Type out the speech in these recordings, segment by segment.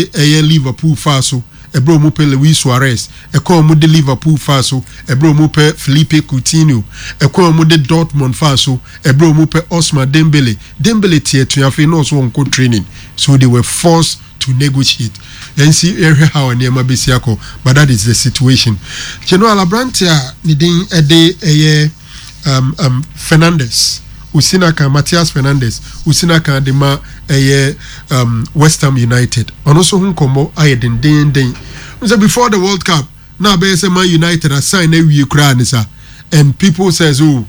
Ɛyɛ Liverpool faa so ɛberɛ a wɔpɛ Luis Suarez, ɛkwan a wɔde Liverpool faa so ɛberɛ a wɔpɛ Philippe Coutinho, ɛkwan a wɔde Dortmund faa so ɛberɛ a wɔpɛ Ousmane Dembele. Dembele te atua afei na ɔso ɔnkɔ training so they were forced to negotiate. Yɛnsi yɛnhwɛ how a nneɛma bɛsi akɔ but that is the situation. General aberante a ne din de ɛyɛ um, um, Fernandes, Osinaka, Matthias Fernandes, Osinaka de ma ɛyɛ um, West Ham United. Ɔno nso ho nkɔmmɔ ayɛ dendeenden. Sɛ before the World Cup, na abɛyɛ sɛ Man United asign na awie koraa ne sa. And people says, oh,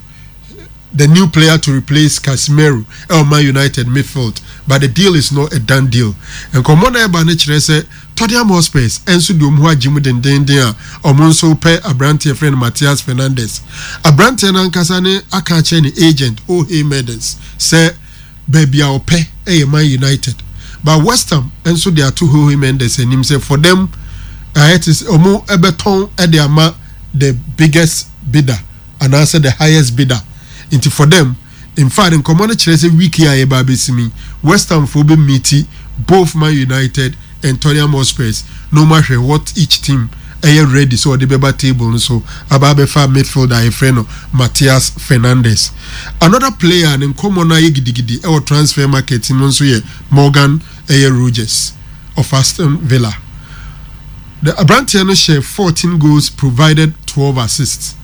the new player to replace Casemiro ɛwɔ Man United midfield, but the deal is not a done deal. Nkɔmmɔ na ɛba no kyerɛ sɛ Tottenham Hotspurs nso de wɔn ho agye mu dendeenden a wɔn nso repɛ aberanteɛ a yɛfrɛ no Matheus Fernandes. Aberanteɛ no ankasa ne aka akyerɛ ne agent Jorge Mendes sɛ baabi a ɔpɛ yɛ Man United. But West Ham nso de ato Jorge Mendes anim sɛ for them ayɛ te sɛ wɔn bɛtɔn de ama the biggest bidder anaasɛ the highest bidder. Nti for them In fact, nkɔmmɔ no kyerɛ sɛ week yi a yɛreba abɛsim yi, West Ham foɔ bɛ meeti both Man United and Tottenham Hotspurs na wɔn ahwɛ what each team ɛyɛ ready sɛ ɔde bɛba table no so aba abɛfa midfielder a yɛfrɛ no Matheus Fernandes. Another player a ne nkɔmmɔ no ayɛ gidigidi ɛwɔ transfer market mu nso yɛ Morgan ɛyɛ Rogers of Aston Villa. The aberanteɛ no hyɛ 14 goals provided 12 assists.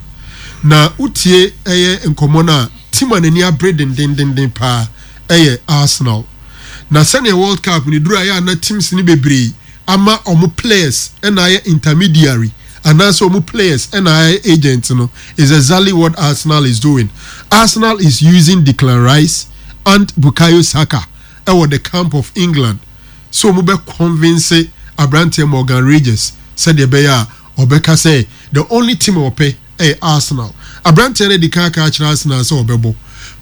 Na wotie ɛyɛ nkɔmmɔ no a, team a n'ani abere dendendenden paa ɛyɛ Arsenal. Na sɛnea World Cup no duru ayɛ a na teams no bebree ama wɔn players na ayɛ intermediary anaasɛ wɔn players na ayɛ agent no is exactly what Arsenal is doing. Arsenal is using Declan Rice and Bukayo Saka ɛwɔ the camp of England sɛ wɔn bɛ convince aberanteɛ Morgan Rogers sɛdeɛ ɛbɛyɛ a Ɔbɛka sɛ the only team a ɔpɛ yɛ Arsenal. Aberanteɛ no adi kan aka akyerɛ Arsenal sɛ ɔbɛbɔ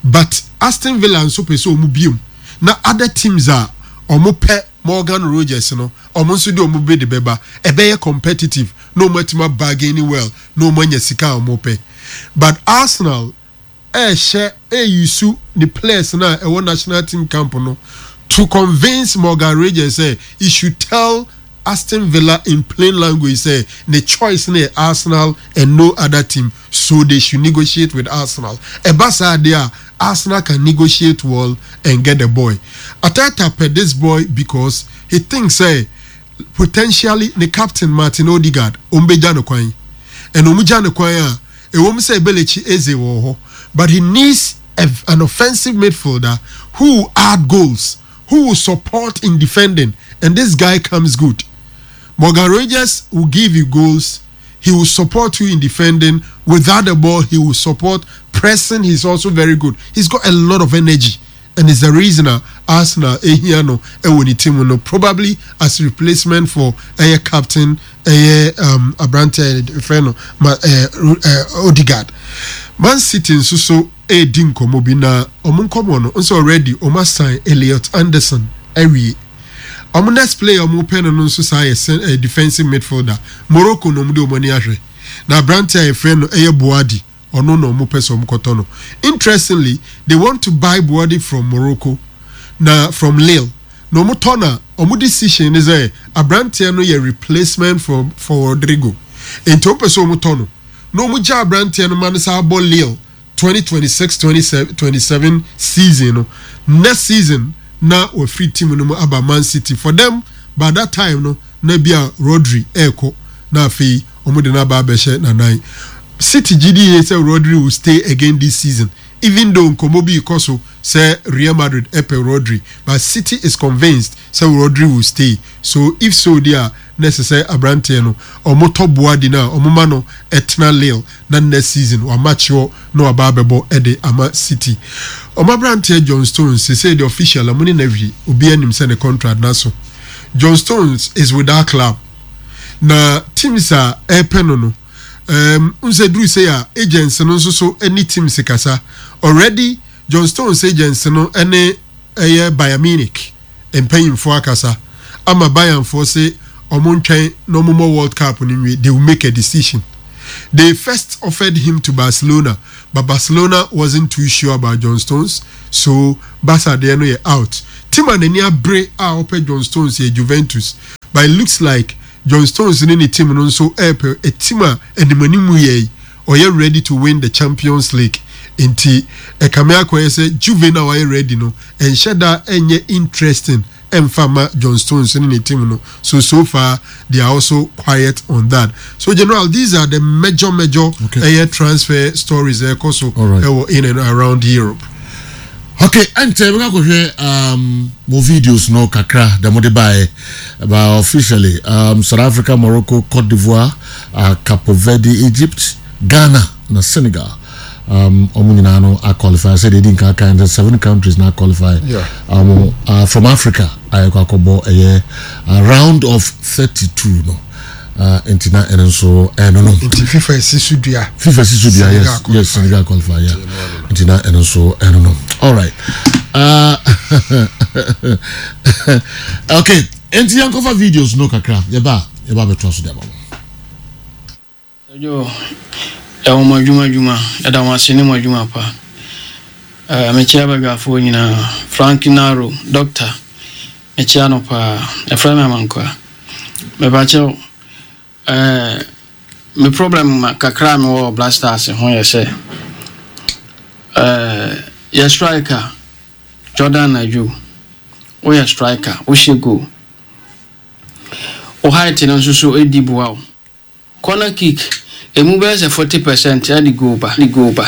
but Aston Villa nso pɛ sɛ wɔn biom na other teams a wɔpɛ Morgan Rogers no wɔn nso de wɔn bid bɛba. Ɛbɛyɛ competitive na wɔn atumi a bargain well na wɔn anya sika a wɔpɛ. But Arsenal ɛrehyɛ ɛreyusu ne players no a ɛwɔ national team camp no to convince Morgan Rogers sɛ he should tell Aston Villa in plain language sɛ ne choice no yɛ Arsenal and no other team so they should negotiate with Arsenal. Ɛba saa deɛ a Arsenal can negotiate well and get the boy. Arteta pɛ this boy because he thinks sɛ potentially ne captain Martin Odegaard wɔbɛgya no kwan and wɔgya no kwan a Ɛwom sɛ Belechi Eze wɔ hɔ, but he needs a an offensive midfielder who will add goals, who will support in defending and this guy comes good. Morgan Rogers will give you goals, he will support you in defending, without the ball he will support, pressing he's also very good. He's got a lot of energy and is the reason a Arsenal ehia no ɛwɔ ne team no probably as replacement for ɛyɛ captain ɛyɛ um, aberante a yɛfrɛ no ma ɛɛ ɛɛ Odegaard. Man City nso so ɛredi nkɔmɔ bi na wɔn nkɔmɔ no nso already wɔn asan Elliot Anderson awie. Wɔn next player wɔn pɛ no no nso saa yɛ ɛɛ defensive midfielder Morocco na wɔn de wɔn ani ahwɛ na aberante a yɛfrɛ no ɛyɛ Boadi. Ɔno na ɔmo pɛ sɛ ɔmo kɔtɔ no. Interestingly, they want to buy Buadi from Morocco na from Lille. Na ɔmo tɔ no a, ɔmo decision ne sɛ abranteɛ no yɛ replacement for for Rodrigo. Enti ɔmo pɛ sɛ ɔmo tɔ no na ɔmo gya abranteɛ no ma no san bɔ Lille 2026-27 season no. Next season na wafiri team no mu aba Man City. For them, by that time no na ebia Rodri ɛɛkɔ na afei wɔde no aba abɛhyɛ n'anan. City gye di yie sɛ Rodri will stay again this season even though nkɔmmɔ bi rekɔ so sɛ Real Madrid pɛ Rodri but City is convinced sɛ Rodri will stay so if so deɛ a na ɛsɛ sɛ aberanteɛ no wɔtɔ Boadi no a wɔma no tena Lille na next season wamature na waba abɛbɔ de ama City. Wɔn aberanteɛ John Stones seesei deɛ official wɔn ne no awie obiara nim sɛ ne contract no aso. John Stones is with that club. Na teams a ɛrepɛ no no, um, n sɛ duru sei a agents no nso so ne teams kasa. Already John Stones agents no ne ɛyɛ Bayern Munich mpanyinfoɔ akasa ama Bayernfoɔ se ɔmo ntwɛn na ɔmo mmɔ World Cup no nwie, they will make a decision. They first offered him to Barcelona, But Barcelona wasn't too sure about John Stones, so Barca deɛ no yɛ out. Team a n'ani abere a ɔpɛ John Stones yɛ Juventus, but it looks like John Stones ne ne team no nso repɛ a team a animanimu yɛ yi, ɔyɛ ready to win the Champions League. Nti ɛkame akɔyɛ sɛ Juve no a wayɛ ready no, ɛnhyɛ da nyɛ interesting ɛmfa mma John Stones ne ne team no so so far they are also quiet on that so general these are the major major okay. ɛyɛ transfer stories ɛkɔ so ɛwɔ in and around Europe. Okay, ɛnkyɛ bɛka kɔhwɛ um, mo videos no kakra da mode baeɛ ba officially um, South Africa, Morocco, Cote d'Ivoire, uh, Cape Verde, Egypt, Ghana na Senegal um, wɔn nyinaa no aqualify sɛ deɛ ɛdi nka kan sɛ seven countries na aqualify yeah. um, uh, from Africa ayɛkɔ akɔbɔ ɛyɛ uh, round of 32 no uh, nti na ɛno nso ɛno no nti FIFA si so dua FIFA si so dua yes yes Senegal qualify yeah nti na ɛno nso ɛno no all right uh, okay nti yɛnkɔfa videos no kakra yɛba yɛba bɛtoa so de ama mo. Joe, yɛwɔ mo adwuma adwuma, yɛda mo ase ne mo adwuma pa. Eh, mekyia badwafoɔ nyinaa. Frank Naro, doctor, mekyia no paa. Yɛfrɛ me Amankwaa. Mepakyɛw, eh, me problem kakra a mewɔ wɔ Black Stars ho yɛ sɛ, eh, yɛ striker, Jordan Ayew, woyɛ striker, wohyɛ goal. Wo height no nso so di boa wo. Corner kick, emu bɛyɛ sɛ 40 percent de goal ba. Goal ba.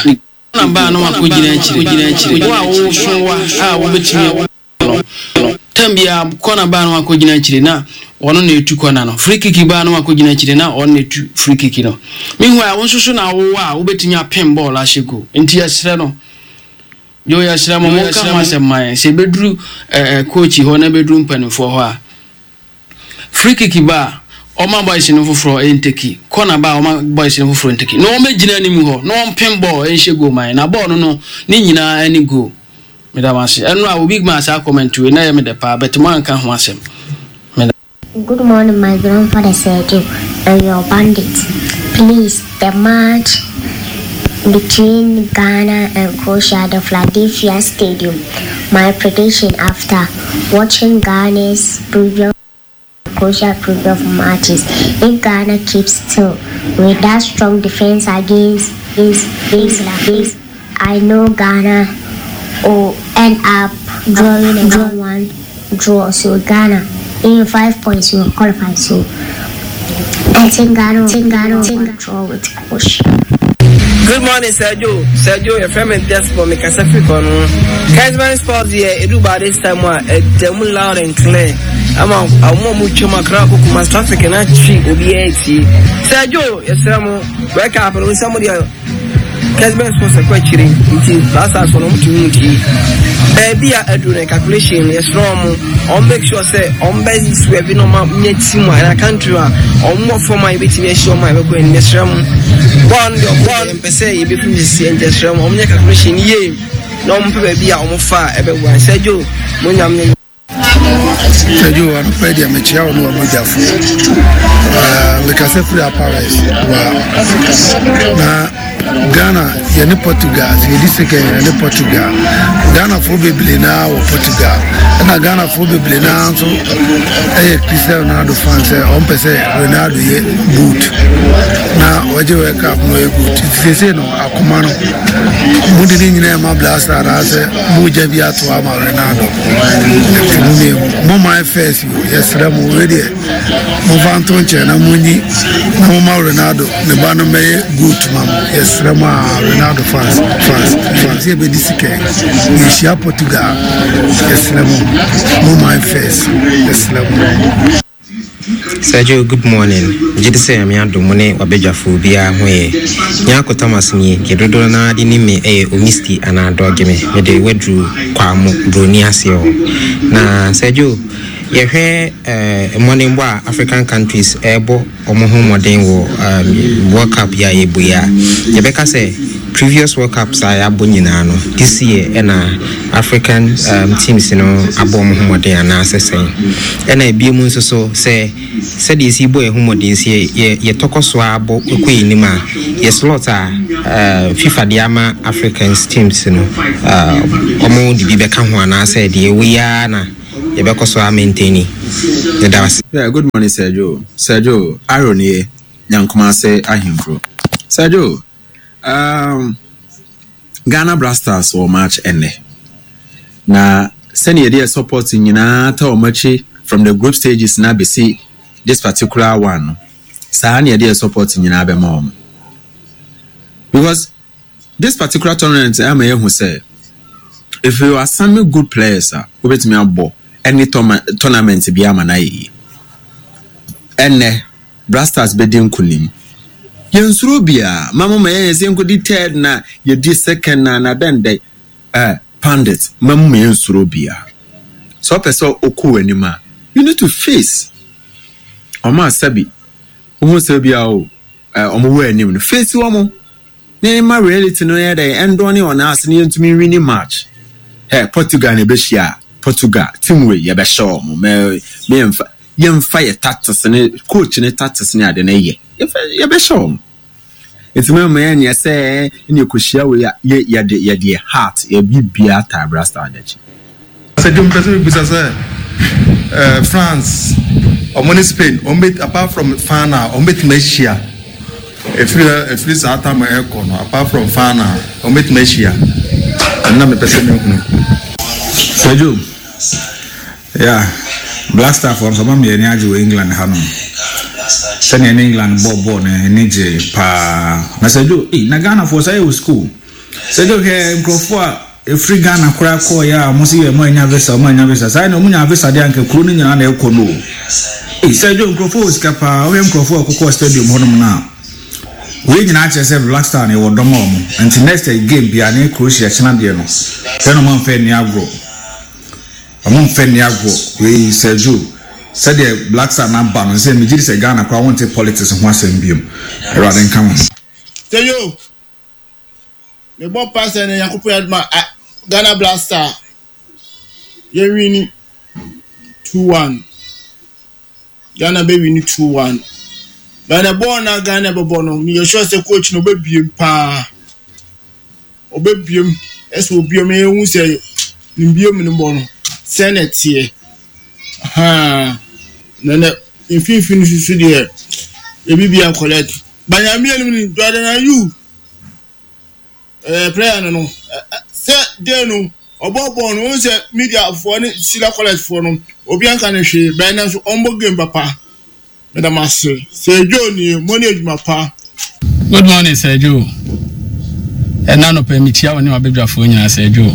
Corner ba a na wakɔgyina akyire. Wo a woso wa a wobɛtumi no, tam biara corner ba a na wakɔgyina akyire na ɔno na ɛtu corner no. Free kick ba a na wakɔgyina akyire na ɔno na ɛtu free kick no. Meanwhile, wo nso so na wowɔ a wobɛtumi apem bɔɔl ahyɛ goal. Nti yɛsrɛ no. Yo, yɛsrɛ mo, monka ho asɛm ma yɛn. Sɛ ɛbɛduru eh, coach hɔ na ɛbɛduru mpanimfoɔ hɔ a, free kick ba a, ɔma boys no foforɔ nteki, corner ba a, ɔma boys no foforɔ nteki, na wɔmmɛgyina anim hɔ na wɔmpem bɔɔl nhyɛ goal ma yɛn. Na bɔɔl no no, ne nyinaa ne goal. Meda mo ase. Ɛno a, obi maa saa comment wei, na ɛyɛ me dɛ paa, but moanka ho asɛm. Meda. Good morning my grandfather Sergio and your bandit please the match between Ghana and Croatia at the Philadelphia Stadium my prediction after watching Ghana's previous Croatia previous matches if Ghana keeps still with that strong defense against England I know Ghana will end up drawing a 1-1 draw so Ghana in five points will qualify so I think Ghana think Ghana will draw with Croatia. Good morning, Sergio. Sergio, your friend Desmond, me kasa firi kɔ no. Kesman Sports yɛ edu ba this time a ɛda mu loud and clear. Ama wɔn a wɔtwa mu akra kɔ Kumasi traffic na twi obiara tie. Sergio, yɛsrɛ mo, World Cup no nsɛm deɛ Kesben sports ɛkɔ akyire nti Black Stars no wɔn tumi mu tie. Baabi a aduru no calculation no yɛsrɛ wɔn wɔn make sure sɛ wɔn bɛ swerve na wɔn anya team a ɛna country a wɔn wɔ fam a yɛbɛtumi ahyia wɔn a yɛbɛkɔ anim yɛsrɛ mo bɔɔl no deɛ wɔn yɛn pɛ sɛ yɛbɛfiri sisi nti yɛsrɛ mo wɔn nyɛ calculation yie na wɔn pɛ baabi a wɔn fa a ɛbɛboa sɛ Joe mo nyam nyɛ. Sɛdwo anɔpa yi deɛ mekyea wo ne w'abɔgyafo. Mekasa firi Apares wa na Ghana yɛne Portugal sɛ yɛdi second yɛne Portugal. Ghanafoɔ bebree naa wɔ Portugal ɛna Ghanafoɔ bebree naa nso ɛyɛ Cristiano Ronaldo fan sɛ ɔmpɛ sɛ Ronaldo yɛ good na ɔgye World Cup no ɔyɛ good nti seesei no akoma no mode ne nyinaa ma Blaster anaasɛ mogya bi ato ama Ronaldo nti mo mmienu mo man first o yɛsrɛ mo wei deɛ momfa nto nkyɛn na monyi na moma Ronaldo ne ba no mmɛyɛ goat ma mo yɛsrɛ mo a Ronaldo fans fans fans yɛbɛdi sika yɛhyia Portugal yɛsrɛ mo mo man first yɛsrɛ mo. Sergio, good morning. Megye di sɛ Nyame adom mo ne w'abadwafoɔ obiara ho yɛ. Nyarko Thomas nie, deɛ dodoɔ no ara de nim me yɛ Omisti anaa Dɔgeme. Mede waduru Kwamo, Broni aseɛ hɔ. Na Sergio, Yɛhwɛ mmɔdenbɔ a African countries ɛrebɔ wɔn ho mmɔden wɔ World Cup yi a yɛbɔ yi a, yɛbɛka sɛ previous World Cups a yɛabɔ nyinaa no, this year ɛna African teams no abɔ wɔn ho mmɔden anaasɛ sɛn? Ɛna ebiem nso so sɛ sɛdeɛ yɛsi bɔ yɛn ho mmɔden sɛ yɛ yɛtɔkɔ so ara bɔ kɔ yɛn anim a, yɛ slot a FIFA de ama Africans teams no, wɔn de bi bɛka ho anaasɛ deɛ ɛwɔ yi ara na yɛbɛkɔ so a maintaini. Meda wo ase. Yeah, good morning Sir Joe. Sir Joe, Aaron nie, Nyankumase Ahenkuro. Sir Joe, um, Ghana Blasters wɔ match ɛnnɛ. Na sɛnea yɛde yɛ support nyinaa ta wɔn akyi from the group stages na bɛsi this particular one no, saa na yɛde yɛ support nyinaa bɛma wɔn. Because This particular tournament ama yɛahu sɛ if you assemble good players a wobɛtumi abɔ any tournament biara ama no ayɛ yie. Ɛnnɛ Black Stars bɛdi nkonim. Yɛnsuro biara. Ma mo ma yɛnyɛ sɛ yɛnkɔdi third na yɛdi second na na dɛn dɛn. Eh, pandit, ma mo ma yɛnsuro biara. Sɛ wopɛ sɛ wokɔ w'anim a, you need to face. Ɔmo a sɛbi, wohu sɛ bia o, eh, ɔmo wɔ anim no, face wɔn. Na yɛma reality no yɛ dɛn ɛndɔne on us na yɛntumi nwini match. Hɛ, Portugal na ɛbɛhyia a, Portugal, team wei, yɛbɛhyɛ wɔn. Mɛ, mɛ yɛmfa, yɛmfa yɛ tactics ne, coach ne tactics ne ade no yɛ. Yɛmfa, yɛbɛhyɛ wɔn. Nti mɛ mɛ yɛnyɛ sɛ ɛne ɛkɔhyia wei a, yɛ, yɛde, yɛde yɛ heart, yɛ biribiara taa Brastar no akyi. Sɛ dwom pɛ sɛ mebisa sɛ eh, France ɔmo ne Spain ɔmo bɛ apart from final ɔmo bɛtumi ahyia ɛfiri ɛfiri saa tam ɛkɔ no apart from final ɔmo bɛtumi ahyia ɛno na mepɛ sɛ mehunu. Sergio, yeah, Black Star foɔ nso ɔma me ani agye wɔ England ha nom. Sɛnea ɛne England bɔɔ bɔɔl no ani gye paa. Na Sergio, eh, na Ghana foɔ sɛ yɛ wɔ school. Sergio hwɛ nkurɔfoɔ a Ɛfiri Ghana koraa kɔɔeɛ a ɔmo se yɛ ɔmo annya visa ɔmo annya visa saa na ɔmo nyaa visa deɛ anka kuro no nyinaa na ɛkɔ no o. Ei Sergio nkurɔfoɔ wɔ sika paa wohwɛ nkurɔfoɔ a ɔkokɔɔ stadium hɔnom no a wei nyinaa kyerɛ sɛ Black Star no yɛwɔ dɔ ma ɔmo nti next game biara ne Croatia kyena deɛ no hwɛ na ɔmo amfa anni agorɔ ɔmo mfa nni agorɔ wei Sergio sɛdeɛ Black Star no aba no sɛ megye di sɛ Ghana koraa wonte politics ho asɛm biom Awurade nka mo ho. Sergio Mebɔ mpae sɛ ɛnɛ Nyankopɔn yɛ adom a Ghana Black Star yɛ wini 2-1. Ghana bɛ wini 2-1. But the ball na Ghana bɛbɔ no, meyɛ sure sɛ coach no ɔbɛbiem paa. Ɔbɛbiem, ɛsɛ obiem na yɛhu sɛ ne biem no bɔ no sɛ na ɛteɛ. Haa. Na na mfimfini nso deɛ ebi bia collect. Banyamie no ni Jordan Ayew. Ɛɛ prayer no no sɛ day no ɔbɔ bɔɔl no wɔn sɛ media foɔ ne sila college foɔ no obi anka ne hwee bɛn nanso ɔmbɔ game papa meda mo ase sɛ Joe nie mo ne adwuma pa. Good morning Sir Joe. Ɛna anɔpa yi mekyia wo ne w'abadwafoɔ nyinaa Sir Joe.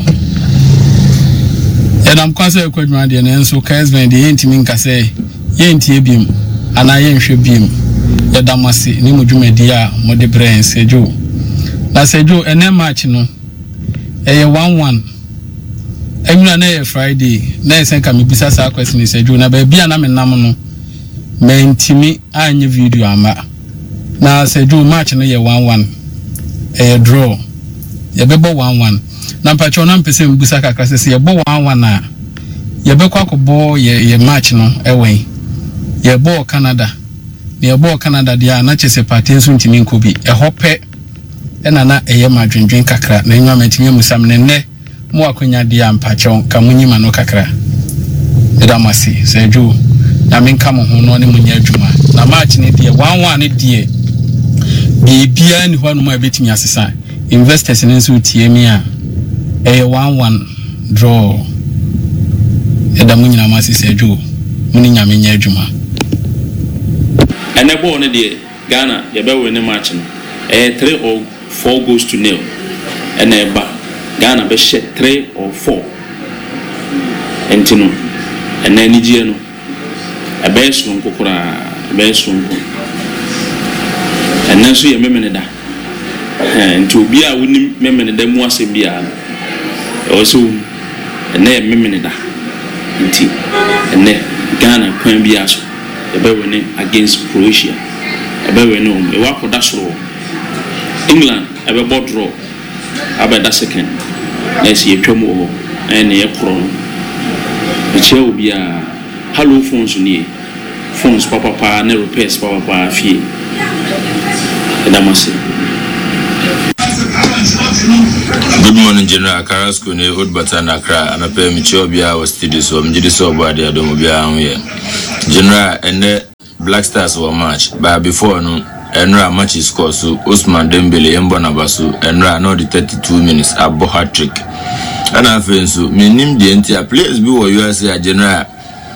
Yɛnam kwan sɛ yɛkɔ adwuma deɛ nanso Kesben deɛ yɛntumi nka sɛ Yɛntie biom anaa yɛnhwɛ biom. Yɛda mo ase ne mo dwumadie a mode brɛ yɛn Sir Joe. Na Sir Joe ɛnɛ March no ɛyɛ one one ɛnwura na ɛyɛ Friday na ɛsɛ nka mebisa saa question yi Sir Joe na baabi a na menam no mantimi anyɛ video amma na Sir Joe March no yɛ one one ɛyɛ draw yɛbɛbɔ one one Na mpakyɛw na mepɛ sɛ mibisa kakra sɛ, sɛ yɛbɔ one one a, yɛbɛkɔ akɔbɔ yɛ yɛ match no wɛn? Yɛbɔɔ Canada, na yɛbɔɔ Canada deɛ a na kyerɛ sɛ Partey nso ntumi nkɔ bi. Ɛhɔ pɛ na na ɛyɛ me adwendwen kakra, na ɛno a mantumi ammisa mo. Na nnɛ mowɔ akwanya deɛ a, mpakyɛw nka monyi m'ano kakra. Meda mo ase. Sir Joe, Nyame nka mo ho na ɔne mo nyɛ adwuma. Na match no deɛ, one one no deɛ, biribiara nni hɔ anom a ɛbɛtumi asesa. Investors no nso retie me a, ɛyɛ one one draw. Yɛda mo nyinaa mo ase sɛ adwo mo ne Nyame nyɛ adwuma. Ɛnɛ bɔɔl no deɛ Ghana yɛbɛ winne match no ɛyɛ three or four goals to nil ɛna ɛba Ghana bɛhyɛ three or four ɛnti no ɛnɛ anigyeɛ no Ɛbɛyɛ soronko koraa, ɛbɛyɛ soronko. Ɛnnɛ nso yɛ Memeneda. Ɛhɛn, nti obiara a wonim Memeneda mu asɛm biara no, ɛwɔ sɛ wohu. Ɛnnɛ yɛ Memeneda. Nti, ɛnnɛ, Ghana kwan biara so yɛbɛ wene against Croatia yɛbɛ wene wɔn yɛwɔ akɔda soro hɔ England ɛbɛbɔ draw abɛda second na ɛsɛ yɛtwam wɔ hɔ na yɛne yɛ korɔ no mekyia obiara Hallo phones nie phones papapaa ne repairs papapaa fie yɛda mo ase. Good morning General Carrasco ne Old Bata na Accra anɔpa yi mekyia obiara wɔ studio so megye di sɛ ɔbɔ adeɛ adom obiara ho yɛ General ɛnɛ Black Stars wɔ match but before no ɛnora matches kɔɔ so Ousmane Dembele yɛmbɔ naba so ɛnora na ɔde 32 minutes abɔ hat-trick ɛna afei nso mennim deɛ nti a players bi wɔ wiase a General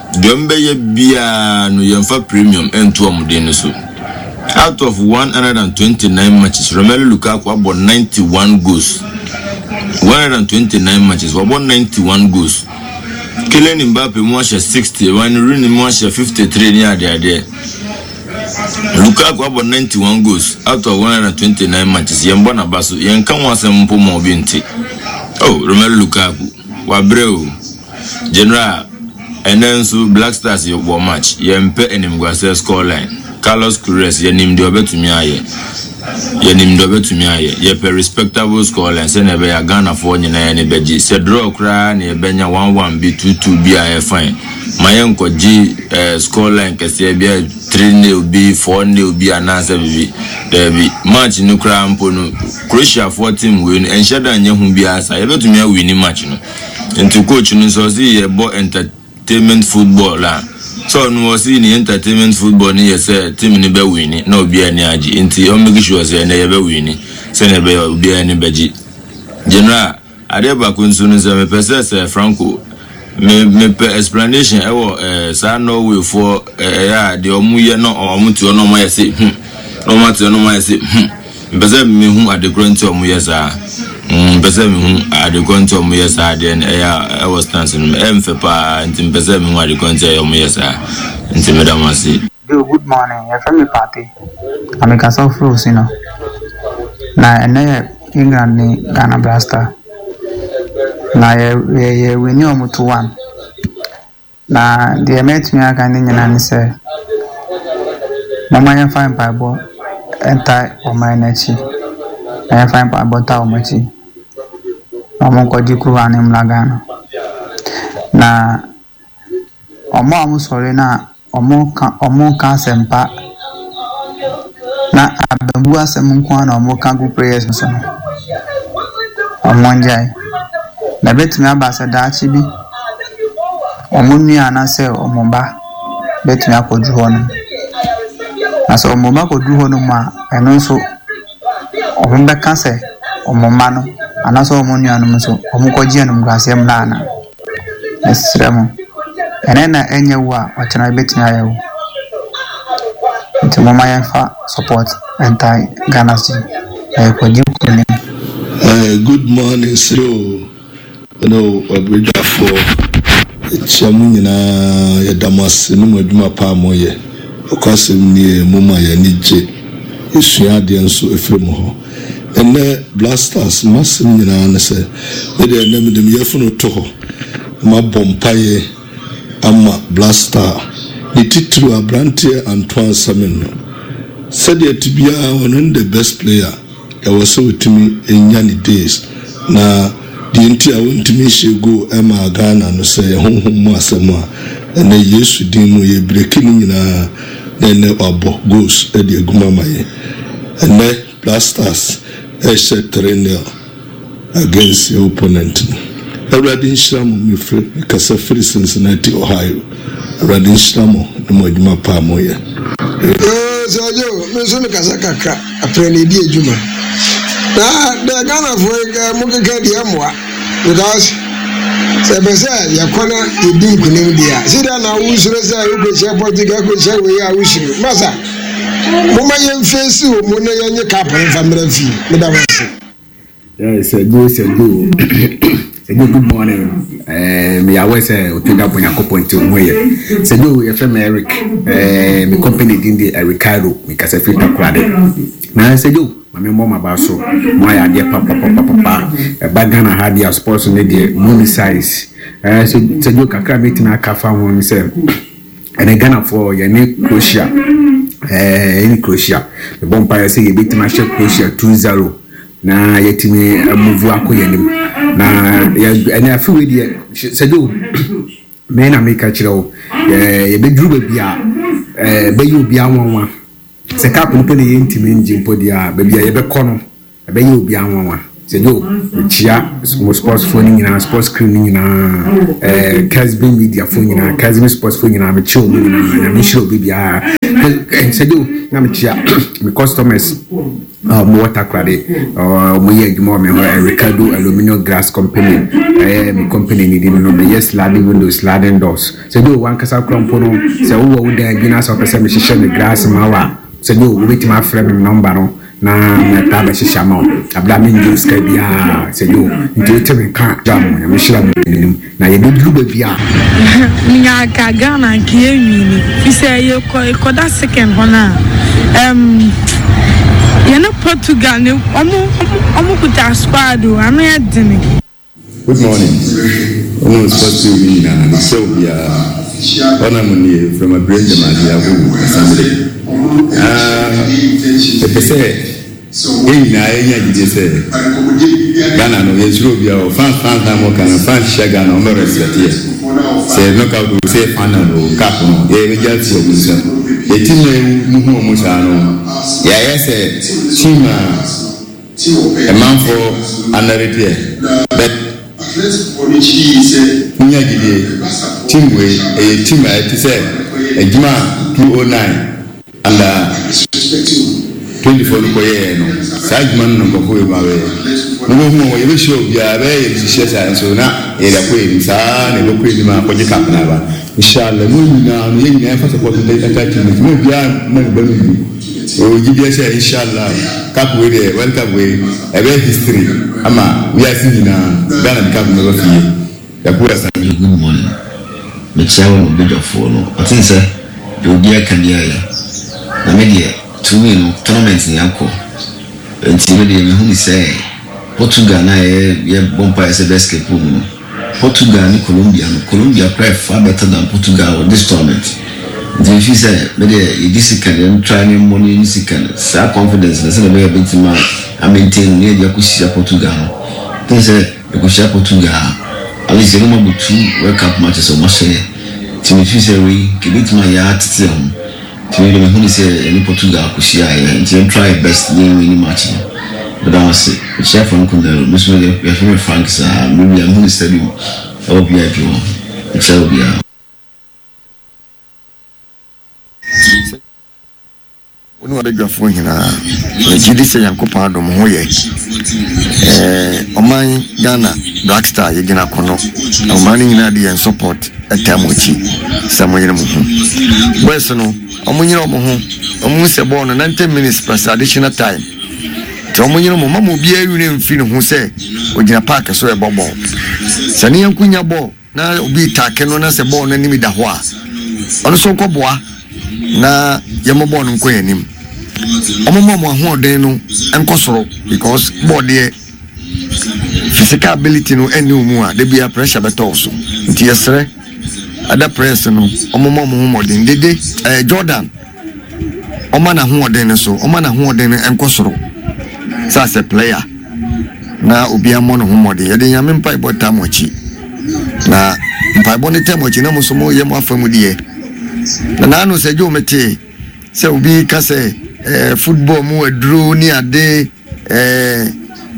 Deɛ ɔmbɛyɛ biara no yɛmfa premium nto wɔn din no so. Out of 129 matches, Romelu Lukaku abɔ 91 goals. 129 matches, wabɔ 91 goals. Kylian Mbappe mu ahyɛ 60, Wayne Rooney mu ahyɛ 53 ne adeadeɛ. Lukaku abɔ 91 goals out of 129 matches. Yɛn bɔ n'aba so, yɛn ka ho asɛm mpo ma obi nte. Oh, Romelu Lukaku, wabrɛ o. General, ɛnnɛ nso Black Stars wɔ match, yɛmpɛ animguaseɛ score line. Carlos Queiroz, yɛnim deɛ ɔbɛtumi ayɛ. Yɛnim deɛ ɔbɛtumi ayɛ. Yɛpɛ respectable score line sɛdeɛ ɛbɛyɛ a Ghanafoɔ nyinaa ani bɛgye. Sɛ draw koraa na yɛbɛnya one one bi, 2-2 bi a ɛyɛ fine. Ma yɛnkɔgye eh, score line kɛseɛ bi a 3-nil bi, 4-nil bi anaasɛ biribi. Daabi, match no koraa mpo no, Croatiafoɔ team wei no, ɛnhyɛ da nyɛ hu biara saa. Yɛbɛtumi awini match no. Nti coach no sɛ ɔse yɛbɔ entertainment football a, sɛ ɔno ɔse ne entertainment football no yɛ sɛ team no bɛ wini na obiara ani agye. Nti ɔn make sure sɛ ɛnɛ yɛbɛ wini sɛnea ɛbɛyɛ a obiara ani bɛgye. General, adeɛ baako nso no sɛ mepɛ sɛ sɛ Franco me mepɛ explanation ɛwɔ eh, saa Norway foɔ eh, ɛyɛ a deɛ ɔmo yɛ na ɔmo te hɔ na ɔmo ayɛ se hmm na ɔmo ate hɔ na ɔmo ayɛ se hmm. Mepɛ sɛ mehu ade korɔ nti a wɔyɛ saa. Mm, mepɛ sɛ mehu ade korɔ nti a wɔyɛ saa adeɛ no ɛyɛ a ɛwɔ stance no mu. Ɛyɛ me fɛ paa nti mepɛ sɛ mehu ade korɔ nti a ɛyɛ wɔyɛ saa. Nti meda mo ase. Yo, good morning, yɛfrɛ me Pape, na mekasa firi Osino. Na ɛnɛ yɛ England ne Ghana Black Star. Na yɛ yɛ yɛ wini wɔn 2-1. Na deɛ mɛtumi aka ne nyinaa ne sɛ, momma yɛmfa mpaebɔ ntae ɔman no akyi, na yɛmfa mpaebɔ ntaa wɔn akyi, na wɔnkɔgye kuruwa no mmra Ghana. Na wɔn a wɔsɔre no a wɔka wɔnka asɛmpa na abambu asɛm nko ara na wɔka gu prayers no so no, wɔngyae. Na ɛbɛtumi aba sɛ daakye bi wɔn nua anaasɛ wɔn ba bɛtumi akɔduru hɔnom. Na sɛ wɔn ba kɔduru hɔnom a, ɛno nso wɔbɛka sɛ wɔn mma no anaasɛ wɔn nuanom nso wɔkɔgye animguaseɛ mmra anaa? Mesrɛ mo, ɛnnɛ na ɛnyɛ wo a, ɔkyena ɛbɛtumi ayɛ wo. Nti momma yɛmfa support ntae Ghana so na yɛkɔgye nkunim. Eh, good morning sir o ne w'abadwafoɔ yɛkyia mo nyinaa yɛda mo ase ne mo adwuma pa a moyɛ nokwasɛm nie moma yɛn ani gye yɛsua adeɛ nso ɛfiri mo hɔ ɛnnɛ Blasters m'asɛm nyinaa ne sɛ me deɛ ɛnnɛ mede me yafunu to hɔ na mabɔ mpaeɛ ama Blaster ne titiriw abranteɛ Antoine Semenyo sɛdeɛ ɛte biara ɔno ne the best player Ɛwɔ sɛ ɔtumi nya ne days na deɛ nti a ɔntumi nhyɛ goal mmaa Ghana no sɛ ɛyɛ honhom mu asɛm a, ɛnnɛ Yesu din mu yɛ breki ne nyinaa na ɛnnɛ wabɔ goals de agu mu ama yɛn. Ɛnnɛ Black Stars rehyɛ 3 nil against yɛn opponent no. Awurade nhyira mo, mefiri mekasa firi Cincinnati, Ohio. Awurade nhyira mo ne mo adwuma pa a moyɛ. Yoo Sir Joe, me nso mekasa kakra, aprɛ na ɛdi adwuma. Na deɛ Ghanafoɔ yi ka mo keka deɛ ɛmmoa because sɛ ɛpɛ sɛ yɛkɔ na yɛdi nkunim deɛ a, sɛdeɛ na wosuro sɛ wokɔhyia Portugal kɔhyia wei a wosuro. Masa, momma yɛmfeesi wɔ mu na yɛnye cup no mfa mmra fie. Meda mo ase. Yeah, Sir Joe, Sir Joe. Sir Joe, good morning. Eh, me aware sɛ otwa da bɔ Nyankopɔn nti ho yɛ. Sir Joe, yɛfrɛ me Eric. Eh, me company din de Eric Cairo. Me kasa firi Takoradi. Na Sir Joe, ma me mmɔ m'aba so. Mo ayɛ adeɛ papapapapa. Ɛba Ghana ha deɛ sports no deɛ mo ni size. Eh, Sir Joe, kakra metumi aka fa ho ne sɛ. Ɛnɛ Ghanafoɔ yɛne Croatia ɛɛ yɛne Croatia mebɔ mpaeɛ sɛ yɛbɛtumi ahyɛ Croatia 2-0 na yɛatumi amuvu akɔ yɛn anim na ɛnɛ afe wei deɛ sɛdeɛ me na meka kyerɛ wo yɛbɛduru baabi a ɛbɛyɛ obiara nwanwa sɛ cup no pɛ na yɛntumi ngye mpo deɛ a baabi a yɛbɛkɔ no Ɛbɛyɛ obiara nwanwa sɛ Joe mekyia mo sports foɔ no nyinaa, sports crew no nyinaa, eh, Kesbin media foɔ nyinaa, Kesbin sports foɔ nyinaa, mekyia wɔn nyinaa, nyame nhyira obi biara. Eh, sɛ Joe na mekyia me customers a wɔn wɔ Takoradi, wɔn yɛ adwuma wɔ me hɔ, eh, Ricardo Aluminium Glass Company, ɛyɛ me company ni din no, meyɛ sliding windows, sliding doors. Sɛ Joe wankasa kora mpo no, sɛ wowɔ wo dan bi na sɛ wopɛ sɛ mehyehyɛ me glass ma wo a, sɛ Joe wobɛtumi afrɛ me nɔmba no, Na mɛba abɛhyehyɛ ama wo aberɛ a mennye wo sika biara sɛ yo nti wote me nka a gya mo Nyame hyira mo anim na yɛbɛduru baabi a. Menya anka Ghana anka yɛ nwini fisɛ yɛ kɔ kɔda second hɔ no a ɛm yɛne Portugal ne ɔmo ɔmo kuta squad o ano yɛ dene. Good morning wo ne sports team no nyinaa mekyia obiara ɔna mo nie from Abirem Gyamade Agogo Assembly ah mepɛ sɛ yɛn nyinaa yɛnya gyidie sɛ Ghana no yɛnsuro obiara o fans fans na mo ka no fans hyia Ghana wɔn bɛ respect yɛ sɛ knockout o sɛ final o cup no yɛbɛgye afi wɔn nsam yɛ team na yɛhu wɔn saa no yɛayɛ sɛ team a Ɛmanfo anare deɛ but monya gyidie team wei ɛyɛ team a ɛte sɛ adwuma a 209 under 24 no kɔyɛɛ no saa adwuma no na nkurɔfoɔ wei ma bɛyɛ mobɛhu wɔn yɛbɛhyia obiara ɛbɛyɛ yɛn hyehyɛ saa nso na yɛde akɔ yɛn anim saa na yɛbɛkɔ anim akɔgye cup no aba inshallah mo nyinaa no yɛn nyinaa yɛmfa support nta team no nti mo obiara mma ne ba no ngu. Mewɔ gyidie sɛ inshallah cup wei deɛ world cup wei ɛbɛyɛ history ama wiase nyinaa Ghana de cup no bɛba fie Yakubu Asante. Good morning mekyia wo ne obadwafoɔ no ɔten sɛ deɛ obiara ka biara yɛ na me deɛ to me no tournament no yɛakɔ nti me deɛ mehu ne sɛ Portugal na yɛ yɛ bɔ mpaeɛ sɛ bɛ escape mu no Portugal ne Colombia no, Colombia koraa yɛ far better than Portugal wɔ this tournament. Nti me feel sɛ me deɛ yɛdi sika no yɛn try ne mmɔ no yɛnni sika no saa confidence no sɛdeɛ ɛbɛyɛ a yɛbɛtumi a a maintain no na yɛde akɔhyia Portugal no. Think sɛ yɛkɔhyia Portugal a at least yɛne wɔn abɔ two World Cup matches a wɔahyɛ yɛn. Nti me feel sɛ wei nka yɛbɛtumi ayɛ atete yɛn ho. Nti me deɛ mehu no sɛ yɛne Portugal akɔhyia a yɛ nti yɛn try yɛ best na yɛn wini match no. Meda wo ase. Mekyia Franco Nero. Me nso me yɛfrɛ me Frank saa. Me wia mehu no stadium ɛwɔ VIP hɔ. Mekyia obiara. Wo ne w'abadwafoɔ nyinaa. Megye di sɛ Nyankopɔn adom ho yɛ. Ɛɛ ɔman Ghana Black Star yɛgyina akono. Ɔman no nyinaa de yɛn support taa mo akyi sɛ mo yere mo ho. Boys no ɔmo nyere ɔmo ho. Ɔmo hu sɛ bɔɔl no 90 minutes plus additional time. Nti ɔmo nyere mo mma mo obiara werɛ mfiri ne ho sɛ ogyina park so ɛbɔ bɔɔl. Sɛ ne yɛnko nya bɔɔl na obi retake no na sɛ bɔɔl no anim da hɔ a, ɔno nso nkɔboa na yɛmmɔ bɔɔl no nkɔ yɛn anim. Wɔmma wɔn ahoɔden no nkɔ soro because bɔɔl deɛ physical ability no ɛnni wɔn mu a, da biara pressure bɛtɔ wo so. Nti yɛsrɛ ada press no wɔmmɔ wɔn ho mmɔden. Dede ɛɛ eh, Jordan ɔma n'ahoɔden no so, ɔma n'ahoɔden no nkɔ soro sɛ asɛ player na obiara mmɔ ne ho mmɔden. Yɛde Nyame mpaebɔ taa mo akyi. Na mpaebɔ no taa mo akyi na mo nso moyɛ mo afa mu deɛ. Na naano sɛ Joe metee sɛ obi ka sɛ eh, football mu aduro ne ade eh,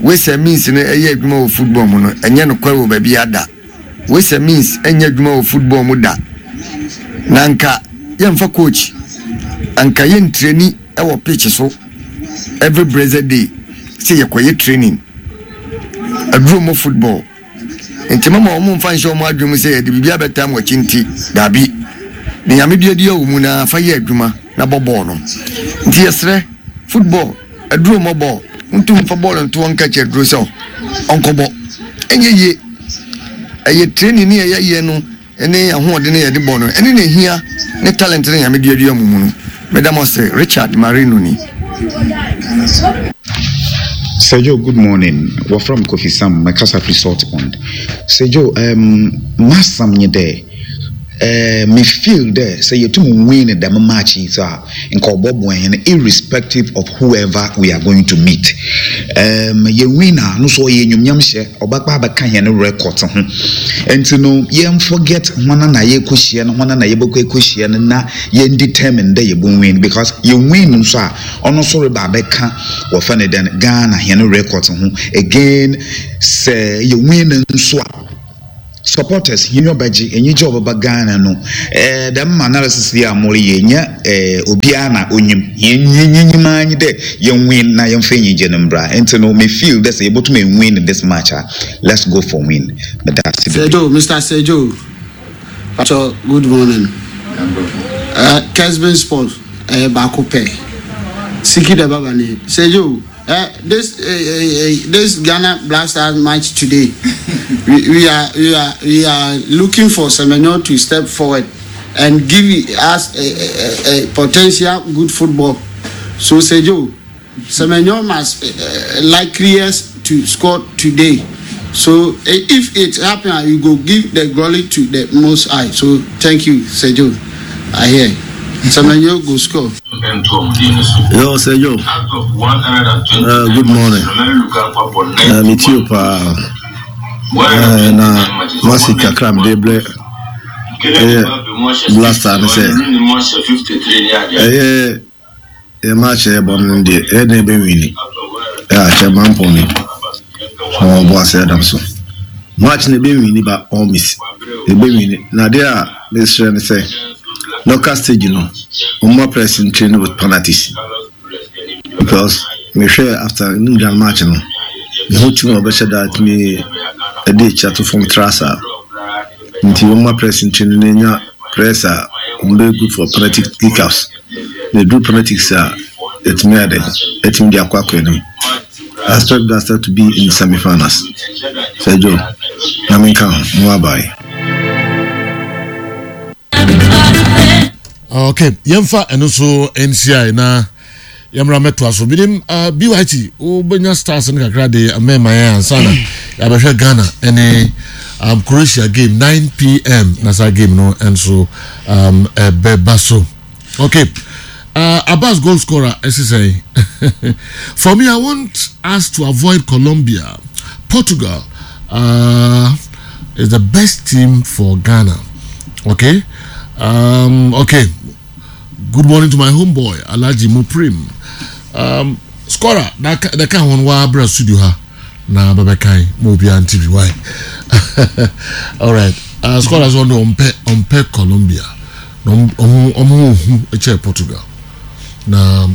wei means no ɛyɛ adwuma wɔ football mu no ɛnyɛ nokware wɔ baabi ada. Wesa Means nyɛ adwuma wɔ football mu da. Na anka yɛmfa coach, anka yɛntreni wɔ pitch so every blessed day sɛ yɛkɔyɛ training. Aduro mmɔ football. Nti mama wɔn mfa nhyɛ wɔn adwene mu sɛ yɛde biribi abɛtaa mo akyi nti, daabi. Ne Nyame duadua wɔ mu na fa yɛ adwuma na bɔ bɔɔl no. Nti yɛsrɛ, football Aduro mmɔ bɔɔl. Wontum mfa bɔɔl nto hɔ nka kyerɛ aduro sɛ ɔnkɔbɔ. Ɛnyɛ yie. Ɛyɛ training ne ɛyɛ yɛ no ne ahoɔden ne yɛde bɔ no ɛne na ehia ne talent ne Nyame duadua mo mu no. Meda mo ase. Richard Marino ni. Sir Joe, good morning. Wɔfrɛ me Kofi Sam, mekasa firi Salt Pond. Sir Joe, um, m'asɛm nye dɛ, Eh, me feel dɛ sɛ yetum win dɛm match yi dze a, nka ɔbɔboa hɛn irrespective of whoever we are going to meet. Um, yɛ win a, no so ɔyɛ enyimnyamhyɛ, ɔbɛba abɛka hɛn records ho. Ntsi no, yɛn forget hɔn na yɛrekohyia no, hɔn na yɛbɔkɔ ekohyia no na yɛn determine dɛ yɛbɔ win because yɛ win nso a, ɔno so reba abɛka wɔfrɛ no dɛn, Ghana hɛn records ho. Again, sɛ yɛ win nso a, Supporters hɛn enyiwa bɛgye, enyigye a ɔbɛba Ghana no, eh, dɛm analysis yi a moreyɛ yi, nnyɛ eh, obiara na onyim. Hɛn nyim ara nye dɛ yɛnwin na yɛmfa enyigye no mbra. Ntsi no, me feel dɛ sɛ yebotum ewin this match a, let's go for win. Meda ase beberee. Sir Joe, Mister Sir Joe, pakyɛ good morning. Eh, Kesben Sport, ɛyɛ baako pɛ. Siki da baba ni. Sir Joe, Eh, this eh, eh, eh, this Ghana Black Stars match today, we, we are we are we are looking for Semenyo to step forward and give us a, a, a potential good football. So Sejo, Semenyo must uh, likely us to score today. So if it happens, you go give the glory to the Most High. So thank you, Sejo. I hear. Semenyo go score. Yo, Sergio. Good morning. Me too, paa. Na masi kakra mede brɛ ɛyɛ blaster ne sɛ ɛyɛ yɛ match ɛyɛ bɔ no deɛ ɛyɛ dɛn bɛwini ɛyɛ akyɛ mampɔn ni ɔbɔ ase adam so match no ɛbɛwini ba all miss ɛbɛwini na adeɛ a mesrɛ ne sɛ Knockout stage no ɔmo press ntrain with penalties because mehwɛ after England match no mehu team a ɔbɛhyɛ da atumi ɛde akyi ato fam tra saa nti ɔmo press ntrain no nya press a ɔmo bɛyɛ good for penalty kickoffs na eduru penalties a ɛtumi ayɛ dɛ ɛtumi de akɔ akɔ anim. I expect Blaster to be in semi finals. Sir Joe, na menka ho, mo abae. Okay, yɛmfa ɛno so nsi na yɛmmra mɛtoa so binim uh, eh, byt wobɛnya stars no kakra de mɛma yɛn ansa na yɛabɛhwɛ ghana ɛne um, croatia game 9 pm na saa game no nso um, ɛbɛba so okay uh, abbas goal scorer ɛsi sɛn for me i want us to avoid colombia portugal uh, is the best team for ghana okay um, okay good morning to my homeboy alhaji muprim um, scorer that ka ho no wa studio ha na bɛbɛkan ma obiara nte bi why alright uh, scorer so ɔno ɔmpɛ ɔmpɛ Colombia na ɔmo ɔmo hu kyɛ Portugal na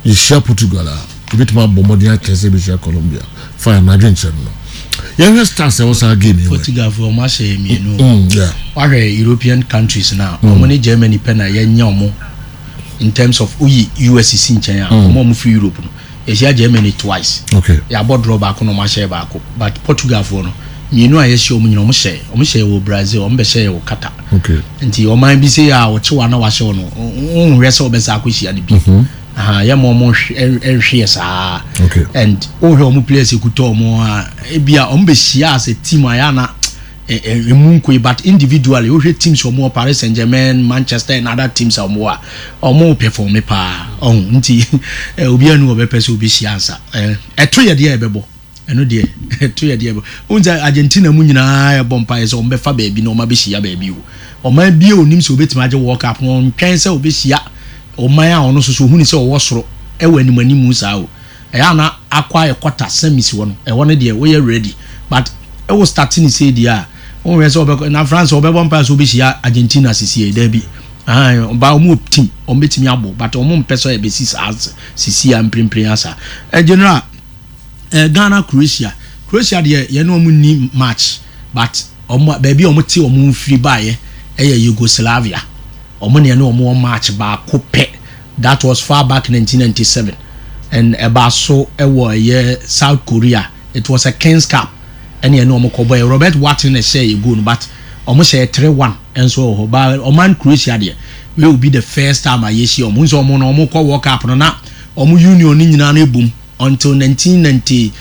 yɛhyia Portugal a ebitumi abɔ mmɔden akyɛ sɛ ebehyia Colombia fine na adwenkyerɛ no no yɛhwɛ stars ɛwɔ saa game yi Portugal fo ɔmo ahyɛ mmienu wahwɛ European countries na ɔmo ne Germany pɛ na yɛnyɛ ɔmo in terms of woyi US si nkyɛn a ɔmo a ɔmo firi Europe no Yɛhyia Germany twice. Okay. Yɛabɔ draw baako na wɔahyɛ baako. But Portugal foɔ no, mmienu a yɛhyia wɔn nyinaa wɔn hyɛ. Wɔn hyɛ wɔ Brazil, wɔn bɛhyɛ yɛ wɔ Qatar. Okay. Nti ɔman bi sɛ a ɔkye wa na wahyɛ wɔn no, nhwɛ sɛ ɔbɛsa akɔhyia no bi. Mhm. Aha, yɛ ma wɔn nhwe yɛ saa. Okay. And wohwɛ wɔn players ekuta wɔn a, ebi a wɔn bɛhyia as a team a yɛ ana Emu nkoe but individually wohwɛ teams wɔn wɔ Paris Saint Germain, Manchester and other teams a wɔn wɔ a wɔn perform paa ɔho nti obiara nu wɔbɛpɛ sɛ obehyia ansa ɛto yɛ deɛ ɛbɛbɔ ɛno deɛ ɛto yɛ deɛ ɛbɛbɔ wɔn sɛ Argentina mu nyinaa ɛbɔ mpa yɛ sɛ wɔn bɛfa baabi na wɔn abɛhyia baabi o ɔman bie onim sɛ obetumi agye World Cup no ɔntwɛn sɛ obehyia ɔman a ɔno nso so ohun sɛ ɔwɔ soro ɛwɔ anim anim saa o. Ɛyɛ a na akɔ ayɛ quarter semis hɔ no ɛhɔ no deɛ woyɛ ready but wo start ne sei deɛ a wonhwɛ sɛ wɔbɛkɔ na France wɔbɛbɔ mpaeɛ sɛ wɔbɛhyia Argentina sisi daabi ahan ba wɔn wɔ team wɔn bɛtumi abɔ but wɔn mpɛ sɛ ɛbɛsi saa sisi a mprempren asa ɛ general ɛ Ghana Croatia Croatia deɛ yɛne wɔn nni match but wɔn baabi a wɔn te wɔn mfiri baeɛ ɛyɛ Yugoslavia wɔn ne ɛne wɔn wɔ match baako pɛ That was far back 1997 and ɛbaa so wɔ ɛyɛ South Korea. It was a Kings Cup ɛne ɛne wɔn kɔ bɔɛ. Robert Watson na ɛhyɛɛ yɛ goal no but wɔn hyɛɛ 3-1 nso wɔ hɔ. But ɔman Croatia deɛ wei will be the first time a yɛhyia wɔn. Wohu sɛ wɔn no wɔn kɔ World Cup no na wɔn union no nyinaa no ebom until 1992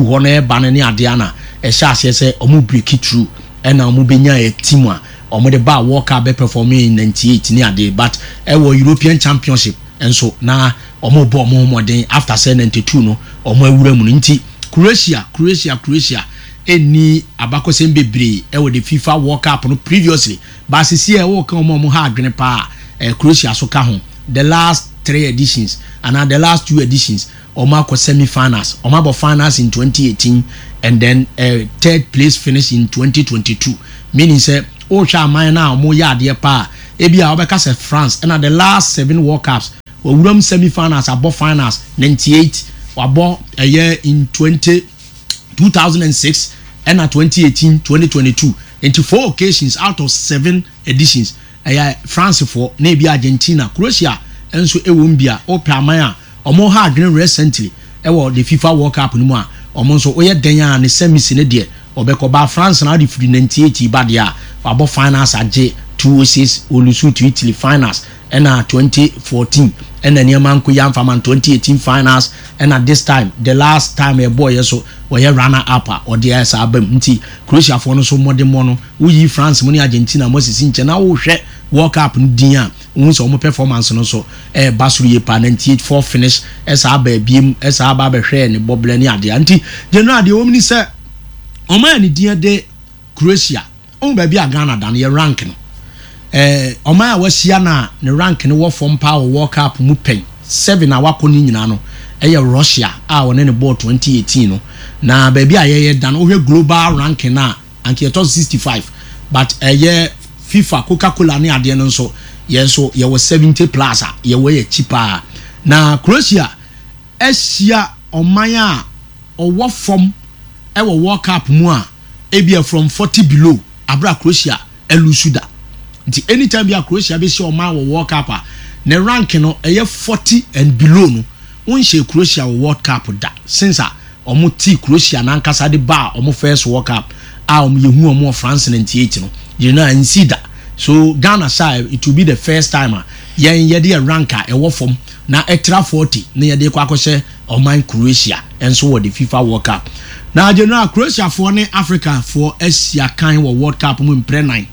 hɔ no ɛba no ne adeɛ na ɛhyɛ aseɛ sɛ wɔn break through ɛna wɔn bɛnya team a. wɔde baa World Cup bɛ perform in 98 ne adeɛ but ɛwɔ European Championship nso na wɔn bɔ wɔn ho mmɔden after sɛ 92 no wɔn awura mu no nti Croatia Croatia Croatia ɛnni abakɔsɛm bebree ɛwɔ the FIFA World Cup no previously but sisi a ɛwɔ ka wɔn a wɔn ha adwene paa ɛɛ Croatia so ka ho the last three editions anaa the last two editions Wɔn akɔ semi finals, wɔn abɔ finals in 2018 and then eh, third place finish in 2022. Meaning sɛ wohwɛ aman no a wɔn yɛ adeɛ paa a, ebi a wɔbɛka sɛ France ɛna the last seven World Cups wɔwura mu semi finals abɔ finals 98 wabɔ ɛyɛ in 20 2006 ɛna 2018 2022 nti four occasions out of seven editions ɛyɛ France foɔ na ebi Argentina Croatia nso ɛwɔ mu bi a wopɛ aman a Ɔmo ha adwene recently ɛwɔ the fifa world cup no mu a ɔmo nso woyɛ dɛn a ne semis no deɛ ɔbɛkɔ but France na ɔde firi 98 ba deɛ a wabɔ finals agye 2006 olusu to Italy finals ɛna 2014 ɛna nneɛma nko yi amfa ma no 2018 finals ɛna this time the last time ɛbɔɔ yɛ so wɔyɛ runner up a ɔde ayɛ saa aba mu nti Croatia foɔ no nso mmɔdemmɔ no woyi France mo ne Argentina mo asisi nkyɛn na wohwɛ world cup no din a Wohu sɛ wɔn performance no nso ɛreba soro yie paa, 98 four finish ɛsaa aba abiem, ɛsaa aba abɛhwɛɛ ne bɔberɛ ne adeɛ. Nti general deɛ ɛwɔ mu ni sɛ wɔn a ne din de Croatia, wohu baabi a Ghana da no, yɛ rank no. Ɛɛ ɔman a wahyia no a ne rank no wɔ fam paa wɔ World Cup mu pɛn seven a wakɔ ne nyinaa no ɛyɛ Russia a wɔne no bɔɔ 2018 no. Na baabi a yɛyɛ da no, wohwɛ global ranking no a, anka yɛtɔ so 65 but ɛyɛ FIFA Coca Cola ne adeɛ no nso yɛn nso yɛwɔ 70 plus a yɛwɔ yɛ akyi paa na Croatia ahyia ɔman a ɔwɔ fam ɛwɔ World Cup mu a ebia from 40 below abira Croatia ɛlusu da nti anytime bi a Croatia bɛhyia ɔman wɔ World Cup a ne rank no ɛyɛ 40 and below no wonhyɛ Croatia wɔ World Cup da since a wɔn tee Croatia no ankasa de baa wɔn first World Cup a wɔn yɛhu wɔn wɔ France 98 no gyina no a ɛnsii da so Ghana saa it will be the first time a yɛn yɛde yɛ rank a ɛwɔ fam na ɛtra 40 na yɛde kɔ akɔhyɛ ɔman Croatia nso wɔ the FIFA World Cup na general Croatia foɔ ne Africa foɔ ahyia kan wɔ World Cup mu mprɛ nan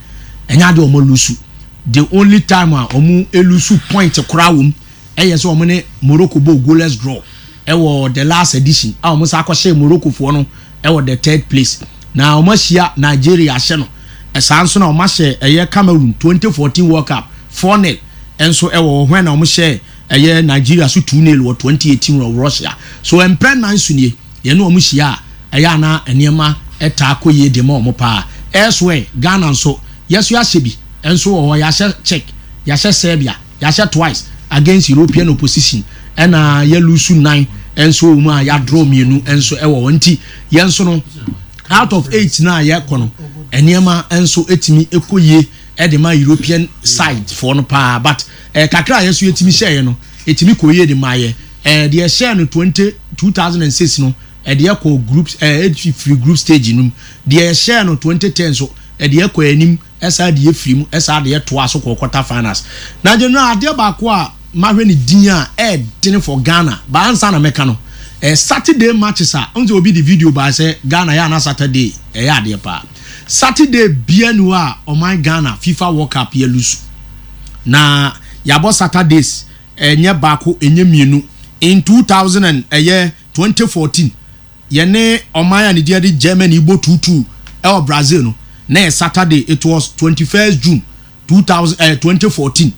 ɛnyɛ adeɛ wɔn lusu the only time a wɔn elusu point koraa wɔm ɛyɛ sɛ wɔn ne Morocco bɔɔ goalless draw ɛwɔ the last edition a wɔn san akɔhyɛ Morocco foɔ no ɛwɔ the third place na wɔn ahyia Nigeria ahyɛ no ɛsaa nso na wɔn ahyɛ ɛyɛ Cameroon 2014 World Cup 4-0 ɛnso ɛwɔ hɔ na wɔn hyɛ ɛyɛ Nigeria so 2-0 wɔ 2018 wɔ Russia so mprɛ nan so nie yɛne wɔn hyia a ɛyɛ ana nneɛma ɛtaa kɔ yie de ma wɔn paa elsewhere Ghana nso yɛso yɛahyɛ bi ɛnso wɔ hɔ yɛahyɛ Czech yɛahyɛ Serbia Yɛahyɛ twice against European opposition ɛna yɛ lose nan nso wɔ mu a yɛ draw mmienu nso ɛwɔ hɔ nti yɛn nso no out of eight na yɛkɔ no nneɛma nso etumi ɛkɔ yie ɛde ma European side foɔ no paa but ɛɛ kakra a yɛn nso yɛtumi hyɛɛ no etumi kɔ yie de ma yɛ ɛɛ deɛ ɛhyɛɛ no twenty 2006 no ɛde ɛkɔ group ɛɛ efiri group stage no mu deɛ ɛhyɛɛ no 2010 so ɛde ɛkɔ anim. Ɛsaa deɛ firi mu, ɛsaa deɛ toa so kɔ quarter finals. Na general adeɛ baako a mahwɛ ne din a ɛɛdene for Ghana, ba ansa na mɛka no, eh, Saturday matches a, ɔn sɛ obi de video baa sɛ Ghana yɛ ana Saturday ɛyɛ adeɛ paa. Saturday bia ni hɔ a ɔman Ghana FIFA World Cup yɛ lusu. Na yɛabɔ Saturdays ɛnyɛ baako ɛnyɛ mmienu in 2000 and ɛyɛ 2014. Yɛne ɔman a ne din de Germany bɔ tuutuu wɔ Brazil no, na ɛyɛ Saturday, it was 21st June 2000, eh, 2014.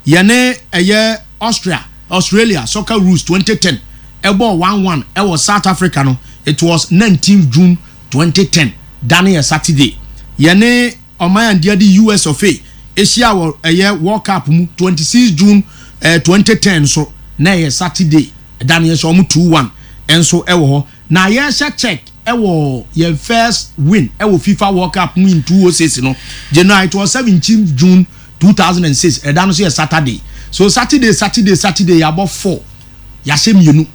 Yɛne ɛyɛ Austria, Australia Soccer Rules 2010 ɛbɔɔ 1-1 ɛwɔ South Africa no, it was 19th June 2010, da no yɛ Saturday. Yɛne ɔman a ne din de US of A hyia wɔ ɛyɛ World Cup mu 26 June eh, 2010 nso, na ɛyɛ Saturday. Ɛda no yɛhyɛ wɔn 2-1 nso wɔ hɔ. Na yɛhyɛ Czech wɔ yɛn first win wɔ FIFA World Cup mu in 2006 no. January it was 17 June 2006. Ɛda no nso yɛ Saturday. So Saturday, Saturday, Saturday yɛabɔ 4. Yɛahyɛ mmienu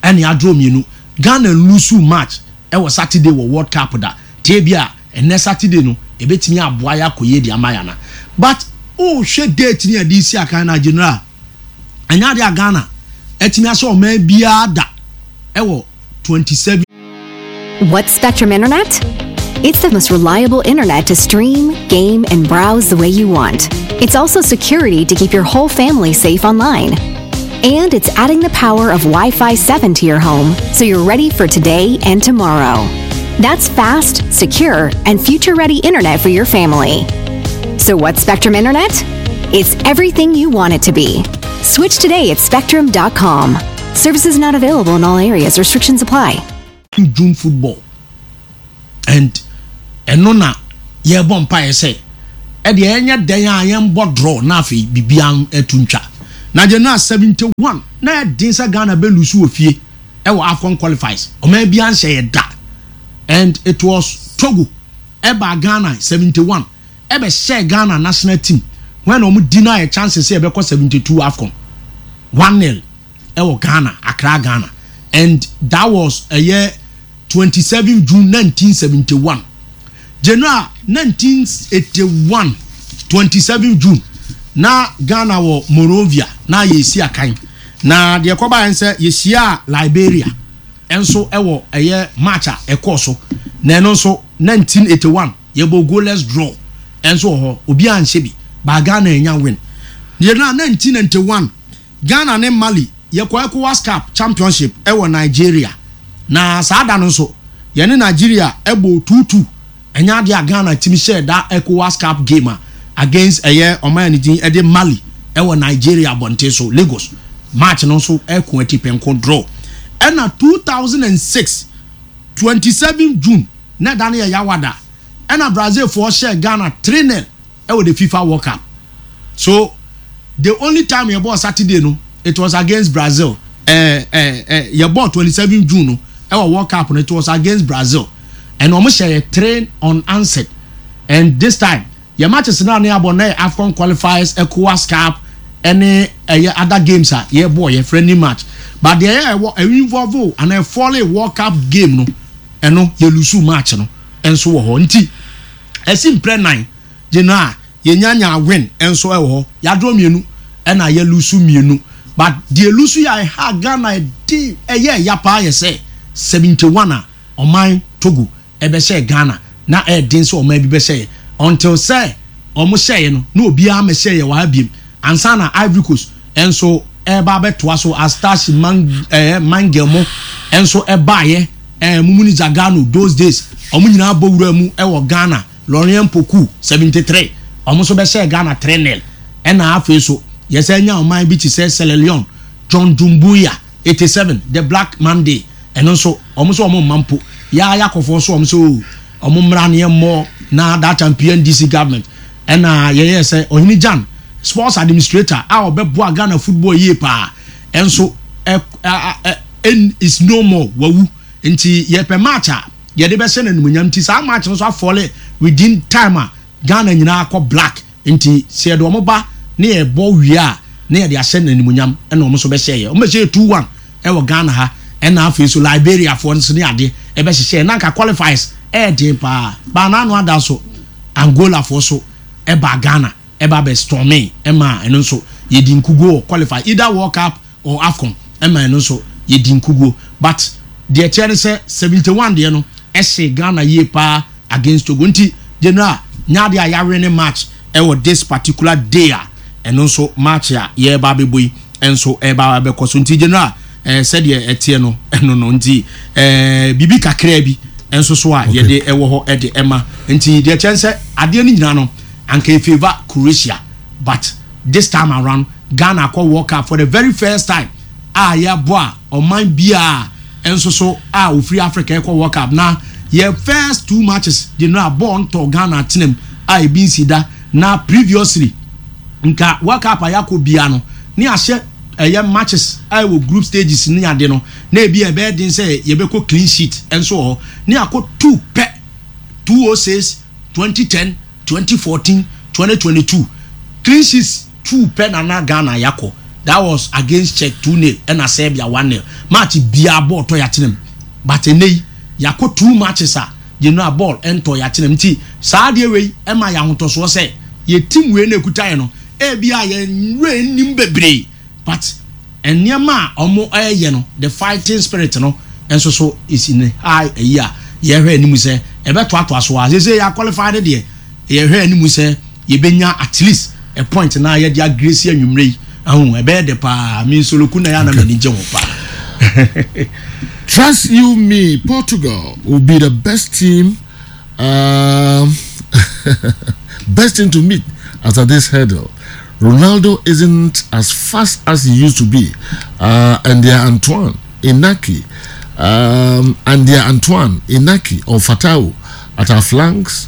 ɛna yɛadraw mmienu. Ghana nlusu match wɔ Saturday wɔ World Cup da. Nti ebia ɛnɛ Saturday no ɛbɛtumi aboa yɛ akɔ yie de ama yɛn ana. But wohwɛ date no a yɛde resi akan no a General, ɛnyɛ adeɛ a Ghana atumi ahyɛ ɔman biara da ɛwɔ 27. What's Spectrum Internet? It's the most reliable internet to stream, game, and browse the way you want. It's also security to keep your whole family safe online. And it's adding the power of Wi Fi 7 to your home so you're ready for today and tomorrow. That's fast, secure, and future ready internet for your family. So, what's Spectrum Internet? It's everything you want it to be. Switch today at spectrum.com. Services not available in all areas, restrictions apply. June football and ɛno na yɛrebɔ mpaeɛ sɛ ɛdeɛ ɛnyɛ dɛn a yɛnbɔ draw na afei biribiara atu ntwa. Na January 71 na ɛden sɛ Ghana bɛ lose wɔ fie ɛwɔ AFCON qualifies ɔman biara nhyɛ yɛ da and it was Togo ɛbaa Ghana 71 ɛbɛ hyɛɛ Ghana national team when wɔn deny chances sɛ yɛbɛkɔ 72 AFCON 1-0 ɛwɔ Ghana, Accra Ghana and that was ɛyɛ 27 June 1971. January 1981 27 June na Ghana wɔ Monrovia na yɛresi akan na deɛ ɛkɔbaeɛ sɛ yɛhyiaa Liberia nso ɛwɔ ɛyɛ match a ɛkɔɔ so na ɛno nso 1981 yɛbɔ goalless draw ɛnso wɔ hɔ obiara nhyɛ bi but Ghana anya win. January 1991 Ghana ne Mali yɛkɔ Ecowas Cup Championship wɔ Nigeria, na saa da no nso yɛne Nigeria bɔɔ 2-2. Ɛnyɛ adeɛ a Ghana tumi hyɛɛ da Ecowas Cup game a against ɛyɛ ɔman a ne din de Mali wɔ Nigeria abɔnten so, Lagos. Match no nso ɛko atipɛnko draw. Ɛna 2006, 27 June, na ɛda no yɛ Yawada, ɛna Brazilfoɔ hyɛɛ Ghana 3-0 ɛwɔ the FIFA World Cup. So the only time yɛ bɔɔ Saturday no it was against Brazil ɛɛ ɛɛ ɛɛ yɛ bɔɔ 27 June no ɛwɔ World Cup no it was against Brazil and wɔn hyɛ yɛ three unanswered and this time yɛ matches naa ne abɔ na yɛ AFCON qualifiers ECOWAS Cup ɛne ɛyɛ other games a yɛ bɔɔ yɛ friendly match but deɛ yɛ ɛwɔ ɛwɔ involve ana ɛfɔle World Cup game no ɛno yɛ lose match no ɛnso wɔ hɔ nti ɛsi mprɛ nan. Gye no a yɛnya nyaa win nso wɔ hɔ yɛadraw mienu ɛna yɛ lusu mienu but deɛ lusu yɛ a ɛha Ghana ɛde ɛyɛ ɛya paa yɛ sɛ 71 a ɔman Togo ɛbɛhyɛɛ Ghana na ɛɛden sɛ ɔman bi bɛhyɛ yɛ until sɛ ɔmo hyɛɛ no na obiara mɛhyɛ yɛ wɔ ha biem ansa na Ivory Coast nso ɛɛba abɛtoa so as Tashi Mang ɛɛ Mangel mo nso ɛbaayɛ ɛɛ Mumuni Zagano those days ɔmo nyinaa bɔ wura mu ɛwɔ Ghana. Laurien Poku, 73, wɔn nso bɛhyɛɛ Ghana 3-0. Ɛna afei nso, yɛsan nyaa ɔman bi te sɛ Sierra Leone, John Dumbuya, 87, The Black Monday, ɛno nso, wɔn nso wɔn mma mpo. Yɛa Yakɔfoɔ nso wɔn nso oo, wɔn mmra na yɛmmɔ na that time PNDC government. Ɛna yɛyɛɛ sɛ Ɔhene Gyan, sports administrator a ɔbɛboa Ghana football yie paa, ɛnso ɛ, ɛ, ɛ, is no more, wawu. Nti yɛpɛ match a yɛde bɛhyɛ no animuonyam nti saa match no nso afɔle within time a Ghana nyinaa akɔ black nti sɛ yɛde wɔn ba ne yɛbɔ wie a na yɛde ahyɛ no animuonyam ɛna wɔn nso bɛhyɛ yɛ wɔn bɛhyɛ yɛ 2-1 ɛwɔ Ghana ha ɛna afei nso Liberia foɔ nso ne adeɛ ɛbɛhyehyɛ yɛ na nka qualifiers ɛyɛ den paa baa n'ano ada nso Angola foɔ so ɛbaa Ghana ɛba bɛ storming ɛma ɛno nso yɛdi nkuguo wɔ qualify either World Cup or Afcon ɛma ɛno nso yɛdi nkuguo but deɛ ɛteɛ ne sɛ 71 deɛ no ɛhyee Ghana yie paa against Togo nti General nyɛ adeɛ a yɛawene match ɛwɔ this particular day a ɛno nso match a yɛreba abɛbɔ yi nso ɛreba abɛkɔ so nti General ɛɛ sɛdeɛ ɛteɛ no ɛno no nti ɛɛ biribi kakraa bi nso so a yɛde ɛwɔ hɔ ɛde ɛma nti deɛ kyɛn sɛ adeɛ no nyinaa no anka efavour Croatia but this time around Ghana akɔ World Cup for the very first time a yɛabɔ a ɔman biara nso so a ofiri Africa ɛkɔ World Cup na yɛ first two matches de no a bɔɔl ntɔ Ghana atenam a ebi nsi da na previously nka World Cup a yɛakɔ biara no ne ahyɛ ɛyɛ matches a ɛwɔ group stages ne ade no na ebi a ɛbɛyɛ den sɛ yɛbɛkɔ clean sheet nso wɔ hɔ ne akɔ two pɛ 206 2010 2014 2022 clean sheets two pɛ na na Ghana yakɔ that was against Czech two nil ɛna Serbia one nil match biara bɔɔl tɔ yakyene mu but ɛnɛ yi yakɔ two matches a yɛn a bɔɔl ɛntɔ yakyene mu nti saa adeɛ wei ɛma yɛ ahotɔsoɔ sɛ yɛ team wei na ekuta yɛ no ebi a yɛn wura nnim bebree but nneɛma a wɔn ɛyɛ no the fighting spirit no nso so is in high ɛyi a yɛhwɛ anim sɛ Ɛbɛtoatoa so ara. Seesei yɛ qualify no deɛ, yɛhwɛ anim sɛ yɛbɛnya at least a point na yɛde agresi anwummerɛ yi. Ahu, ɛbɛyɛ dɛ paa. Me Nsoloku na ɛyɛ a na m'ani gye ho paa. Trust you me, Portugal will be the best team um, best team to meet after this hurdle. Ronaldo isn't as fast as he used to be, uh, and their Antoine Inaki, um, and their Antoine Inaki or Fatau at our flanks.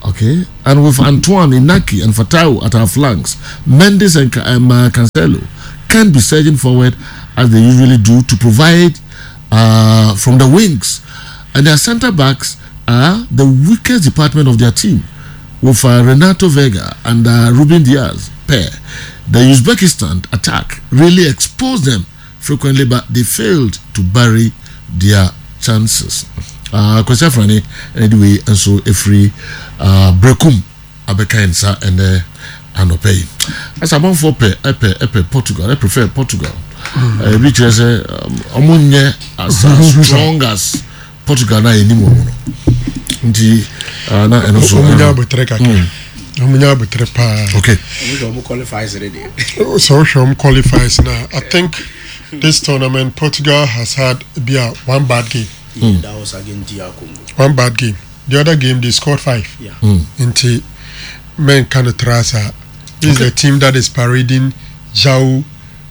Okay, and with Antoine Inaki and Fatau at our flanks, Mendes and um, uh, Cancelo can be surging forward as they usually do to provide uh, from the wings. And their centre backs are the weakest department of their team, with uh, Renato Vega and uh, Ruben Diaz pair. The Uzbekistan attack really exposed them frequently, but they failed to bury their chances. Uh, Kwesi Afrani, anyway, and so every uh, Brekum abɛka yɛn nsa ɛnɛ anɔpa yi. Ɛsɛ amanfoɔ pɛ ɛpɛ ɛpɛ Portugal, ɛ prefer Portugal. Ebi kyerɛ sɛ ɔmo nyɛ as strong as Portugal na yɛnim wɔn no. Nti na ɛno nso. Ɔmo nya abotire kakra. Ɔmo nya abotire paa. Okay. Ɔmo hwɛ ɔmo qualifies ne deɛ. Sɛ ɔhwɛ ɔmo qualifies na I think this tournament Portugal has had bi a one bad game. Yeah, that was against DR Congo. One bad game. The other game they scored five. Yeah. Mm. Nti men kind of trasa. This okay. is the team that is parading Jao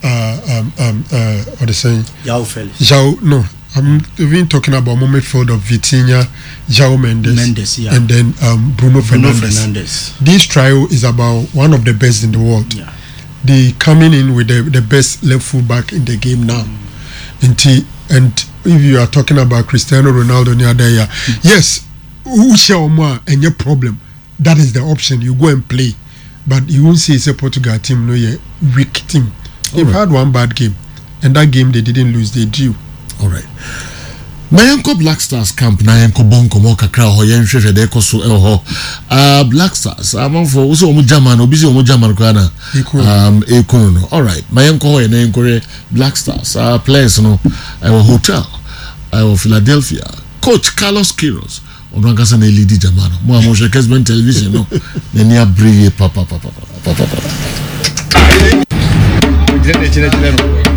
uh, um, um, uh, what they saying? Jao Felix. Jao no. I'm even talking about midfield of Vitinha, Jao Mendes, Mendes yeah. and then um, Bruno, Bruno Fernandes. Fernandes. This trio is about one of the best in the world. Yeah. They coming in with the, the best left full back in the game now. Nti and if you are talking about Cristiano Ronaldo ne ada yi a, yes, wohyia wɔn a ɛnyɛ problem. That is the option. You go and play. But you won't say sɛ Portugal team no yɛ weak team. They've Alright. had one bad game and that game they didn't lose, they drew. Alright. Ma yɛnkɔ Black Stars camp na yɛnkɔbɔ nkɔmmɔ kakra wɔ hɔ, yɛnhwehwɛ deɛ ɛkɔ so wɔ hɔ. Uh, Black Stars, amanfoɔ, wo sɛ wɔn German, obi sɛ wɔn German koraa na um, ɛkunu no. Alright, ma yɛnkɔ hɔ yɛ na yɛnkɔhwɛ Black Stars uh, players no ɛwɔ hotel ɛwɔ Philadelphia. Coach Carlos Queiroz, ɔno ankasa na ɛlidi German no. Mo a mohwɛ Kesben television no, n'ani abere yie papapapapapapa. Gyina n'akyi na kyerɛ no.